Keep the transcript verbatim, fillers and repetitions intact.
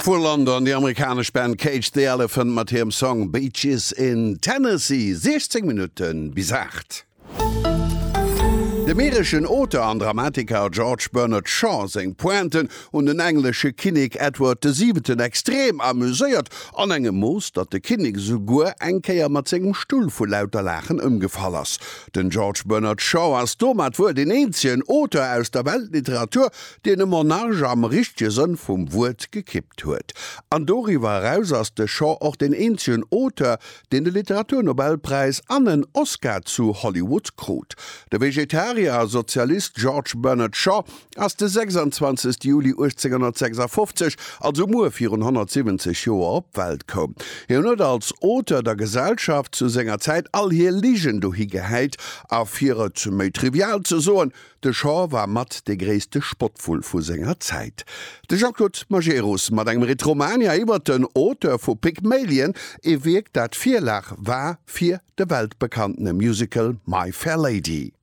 Vu London déi amerikanesch Band Cage the Elephant mat hirem Song Beaches in Tennessee, siechzéng Minutte bis aacht. Dem ireschen Auteur an Dramatiker George Bernard Shaw seng Pointen hunn den englesche Kinnek Edward de Siwenten extrem amuséiert, an engem Mooss, datt de Kinnek esouguer eng Kéier mat sengem Stull vu lauter Laachen ëmgefall ass. Den George Bernard Shaw ass domat wuel deen eenzegen Auteur aus der Weltliteratur, deen e Monarch am richtege Sënn vum Wuert gekippt huet. An doriwwer eraus ass de Shaw och deen eenzegen Auteur, deen de Literaturnobelpräis an en Oscar zu Hollywood krut. De Vegetarier a Sozialist George Bernard Shaw ass de sechsanzwanzegste Juli uechtzénghonnertsechsafofzeg, also muer virun honnertsiwwenzeg Joer, op d'Welt koum. Hien huet als Auteur der Gesellschaft zu senger Zäit all hir Ligen dohi gehäit a fir et méi trivial ze soen, De Shaw war mat dee gréisste Spottvull vu senger Zäit. De Jean-Claude Majerus mat engem Retromania iwwer den Auteur vu Pygmalion, ee Wierk dat Virlag war fir de weltbekanntene Musical My Fair Lady.